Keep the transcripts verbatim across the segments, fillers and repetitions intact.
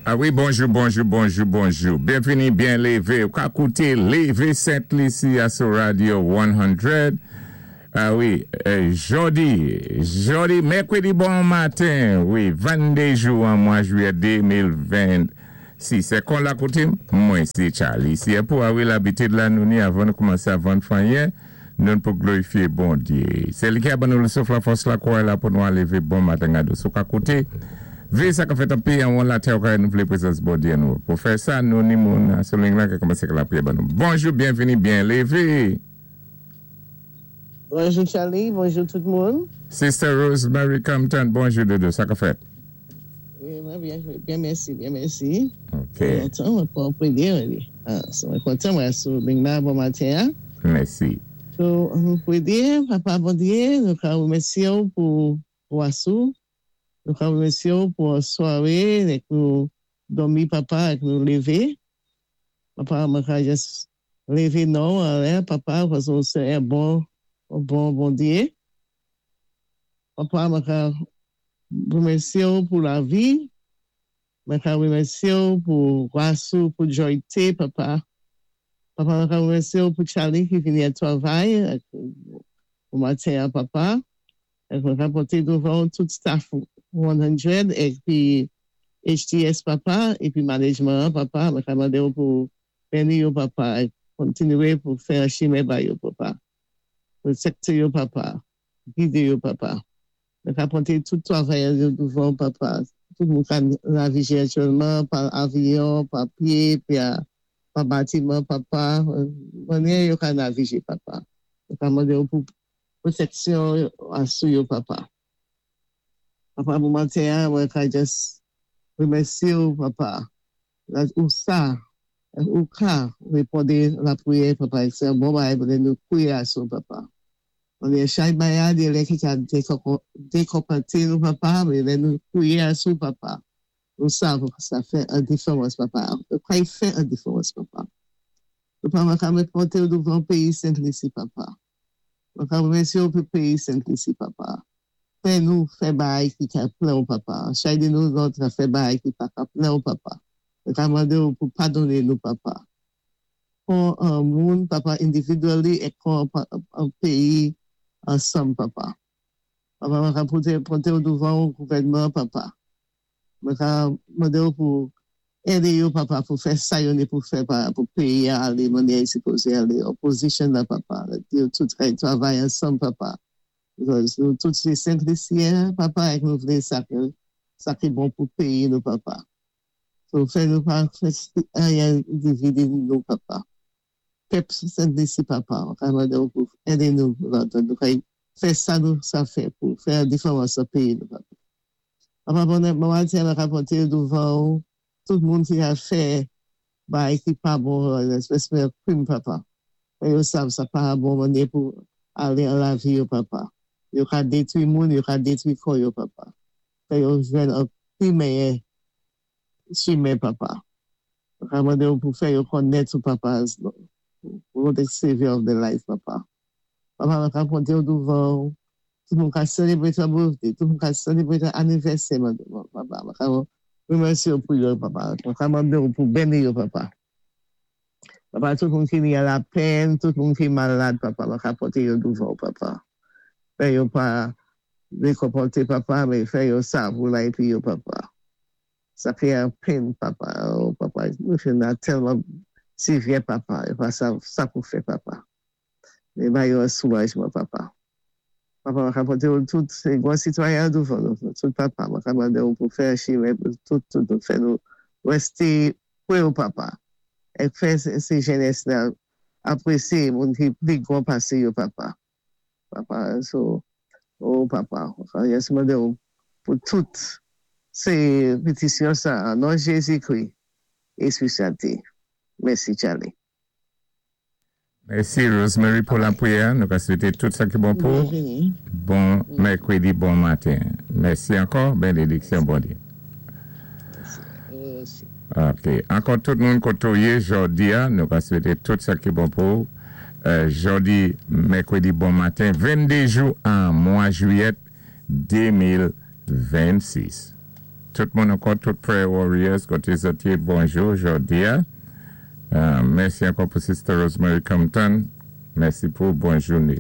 Ah wi, bonjou, bonjou, bonjou, bonjou. Byenvini, byen lévé. Ou ka kouté Lévé Sent Lisi a sou Radio san. Ah wi, euh, jòdi, jòdi, mèkwédi bon maten, wi, vennde jou an mwa jwiyè de mil vennsis. Sé kon lakoutim, mwen sé Charlie. Si pou ah wi labitid la nou ni avan nou koumansé avan fanyen, nou pou glorifié Bondié. Sé li ki a ban nou le souf, la fòs, la kouray la pou nou lévé bon maten gado. Sou ka kouté, Vé sa ka fèt an péyi an latè ou nou vlé prézans Bondié nou. Pou fè sa, nou ni moun sou ligne la ki koumansé lapriyè ban nou. Bonjou, byenvini, byen lévé. Bonjou Charlie, bonjou tout moun. Sister Rosemary Compton, bonjou dodo, sa ka fèt? Wi, mwen byen, byen mèsi, byen mèsi. Ok. Lontan, mwen pa pédi, wi. Ah, so, mwen kontan, mwen sou ligne la bon maten. Hein? Mèsi. So, mwen di, Papa Bondié, nou ka wémèsyé pou pou asou. Nou ka wémèsyé pou swaré, èk nou dòmi papa, èk nou lévé. Papa, mwen ka jis lévé non, anlè, papa, paski sé yon bon, yon bon Bondié. Papa, mwen ka wémèsyé pou lavi. Mwen ka wémèsyé pou gwas ou, pou jòyté, papa. Papa, mwen ka wémèsyé pou Charlie ki vini a twavay, èk, pou maten, papa. Èk mwen ka poté douvan tout staff san épi H T S papa, épi management papa, mwen ka mandé pou béni yo papa, é kontinué pou fè yon chimen ba yo papa. Pwotékté yo papa, gidé yo papa. Mwen ka poté tout twavayè yo douvan papa. Tout moun ka navigé aktyèlman pa avyon, pa pyé, pi a- pa batiman papa. Mannyè yo ka navigé papa. Mwen ka mandé pou pwotéksyon asou yo papa. Papa, pou maten, mwen ka jis wémèsyé ou papa. La, ou sa, ou ka wéponn lapriyè papa. Sé yon bon bagay pou nou kwiyé asou papa. An chak bagay de lè ki ka dékonpòté nou papa, mé lè nou kwiyé asou papa. Nou sav sa fè yon diféwans papa. Ka fè yon diféwans papa. Papa, mwen ka mwen poté douvan péyi Sent Lisi papa. Mwen ka wémèsyé ou pou péyi Sent Lisi papa. Fè nou fè bagay ki ka plè ou papa. Chak de nou lòt ka fè bagay ki pa ka plè ou papa. Mwen ka mandé ou pou padoné nou papa. Kon an moun papa individually é kon an péyi ansanm papa. Papa, mwen ka poté, poté ou douvan ou gouvèdman papa. Mwen ka mandé ou pou édé yo papa pou fè sa yo ni pou fè pa, pou péyi a alé mannyè li sipozé alé. Opozisyon la papa. Yo tout kay twavay ansanm papa. Because nou tout sé Sent Lisyen, papa, èk nou vlé sa ki, sa ki bon pou péyi nou, papa. So, fè nou pa fè anyen dividé nou, papa. Pèp Sent Lisi, papa, mwen ka mandé ou pou édé nou, nou kay fè sa nou sa fè pou fè yon diféwans nan péyi nou, papa. Papa, bon, bon maten, mwen ka poté douvan ou, tout moun ki a fè bagay ki pa bon, espesyalman krim, papa. Fè yo sav sa pa bon mannyè pou alé an lavi yo, papa. Yo ka détwi moun, yo ka détwi kò yo, papa. Fè yo jwenn an pi méyè chimen, papa. Mwen ka mandé ou pou fè yo konnèt ou, papa, as Lord and Savior of the life, papa. Papa, mwen ka poté ou douvan ou, tout moun ka sélébwé ton birthday, tout moun ka sélébwé ton anivèsè, papa. Mwen ka wémèsyé ou pou yo, papa. Mwen ka mandé ou pou béni yo, papa. Papa, tout moun ki ni a lapèn, tout moun ki malad, papa, mwen ka poté yo douvan ou, papa. Fè yo pa dékonpòté, papa, mé fè yo sa pou la épi yo, papa. Sa ki an pèn, papa. Oh, papa, nou fè nan tèlman sivyè, papa. Yo pa sa, sa pou fè, papa. Mé ba yo yon soulajman, papa. Papa, mwen ka poté ou tout, sé gwan sitwayen douvan nou, tout papa. Mwen ka mandé ou pou fè chimen, pou tout, tout, tout, fè nou wésté pwé ou, papa. É fè sé jenès la apwésyé moun ki pli gwan pasé yo, papa. Papa, so, oh papa, mwen jis mandé ou pou tout sé pétisyon sa, an non Jézi-Kri, Éspwi Sentté. Mèsi, Charlie. Mèsi Rosemary pou lapriyè. Nou ka swété tout sa ki bon pou. Byenvini. Bon mèkwédi, bon maten. Mèsi ankò. Bénédiksyon, Bondié. Mèsi. Ou osi. Ok. Ankò tout moun koté ou yé jòdi a, nou ka swété tout sa ki bon pou. Euh, jòdi, mèkwédi, bon maten, venndé jou an mwa jwiyè de mil vennsis. Tout moun ankò, tout prayer warriors, koté zòt yé, bonjou, jòdi-a. Euh, mèsi ankò pou Sister Rosemary Compton. Mèsi pou bon jouné.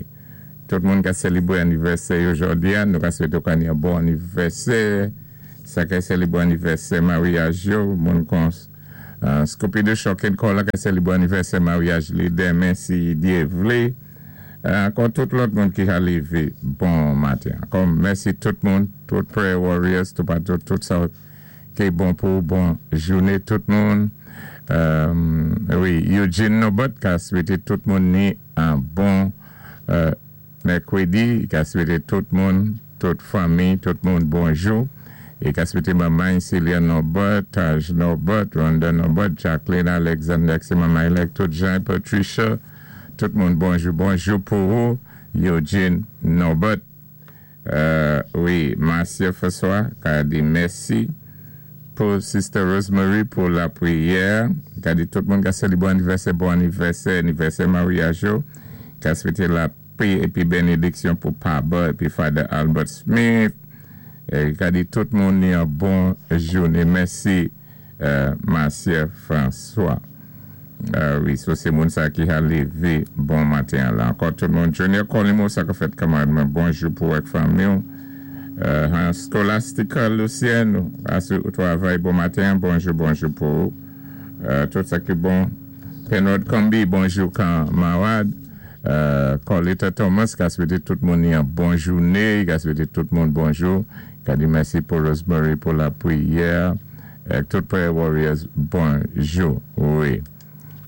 Tout moun ka sélébwé anivèsè jòdi-a, nou ka swété ka ni yon bon anivèsè. Sa ka sélébwé anivèsè maryaj yo, moun kon uh, Scoopy de Choc and Call ka sélébwé anivèsè maryaj li denmen si Dye vlé. Euh, ankò tout lòt moun ki ka lévé bon maten. Ankò mèsi tout moun, tout prayer warriors, tout tout, tout sa ki bon pou bon jouné tout moun. Euh, wi, Eugene Nobot ka swété tout moun ni an bon euh, mèkwédi, ka swété tout moun, tout fanmi, tout moun bonjou. É ka swété manman Celia Nobot, Taj Nobot, Rhonda Nobot, Jacqueline Alexander, sé manman élèk, tout Jean Patricia, tout moun bonjou, bonjou pou ou, Eugene Nobot. Euh, wi, Marcia François, ka di mèsi pou Sister Rosemary pou lapriyè. Ka di tout moun ka sélébwé anivèsè, bon anivèsè, anivèsè maryaj yo. Ka swété lapè épi bénédiksyon pou Papa épi Father Albert Smith. É ka di tout moun ni yon bon jouné. Mèsi, euh, Marcia François. Euh, wi, so sé moun sa ki a lévé bon maten la. Ankò tout moun, Junior Colimo, sa ka fèt kanmarad mwen, bonjou pou ak fanmi. Euh, Scholastica Lucien, asou travay bon maten, bonjou, bonjou pou. Euh, tout sa ki bon. Penrod Combi, bonjou kanmarad. Euh, Colita Thomas, ka swété tout moun yon bon jouné, ka swété tout moun bonjou. Ka di mèsi pou Rosemary pou lapriyè. Euh, tout prayer warriors, bonjou. Wi.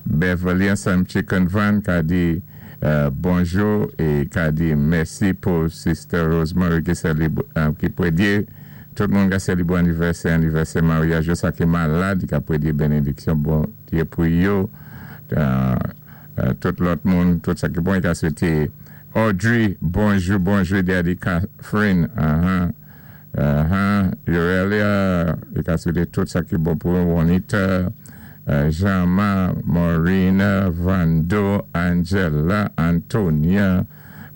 Beverly Sam Chicken Van ka di euh, bonjou é ka di mèsi pou Sister Rosemary ki sélébwé, euh, ki pwédyé tout moun ka sélébwé anivèsè, anivèsè maryaj, sa ki malad, ka pwédyé bénédiksyon Bondyé pou yo. Euh, euh, tout lòt moun, tout sa ki bon, ka swété Audrey, bonjou, bonjou, Daddy Catherine, uh-huh, uh-huh, Urelia, ka swété tout sa ki bon pou Juanita, euh, Jean-Marc, Maureen, Vando, Angela, Antonia,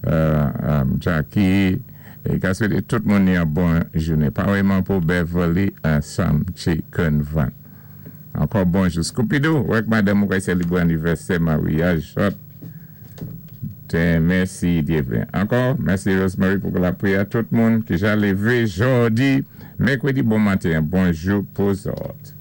euh, um, Jackie, é ka swété tout moun yon bon jouné. Parèyman pou Beverly Sam Chicken Van. Ankò bonjou. Scoopidou, wè madanm ou ka sélébwé anivèsè maryaj. Mèsi Dye. Ankò, mèsi Rosemary pou lapriyè tout moun ki ja lévé jòdi. Mèkwédi bon maten. Bonjou pou zòt.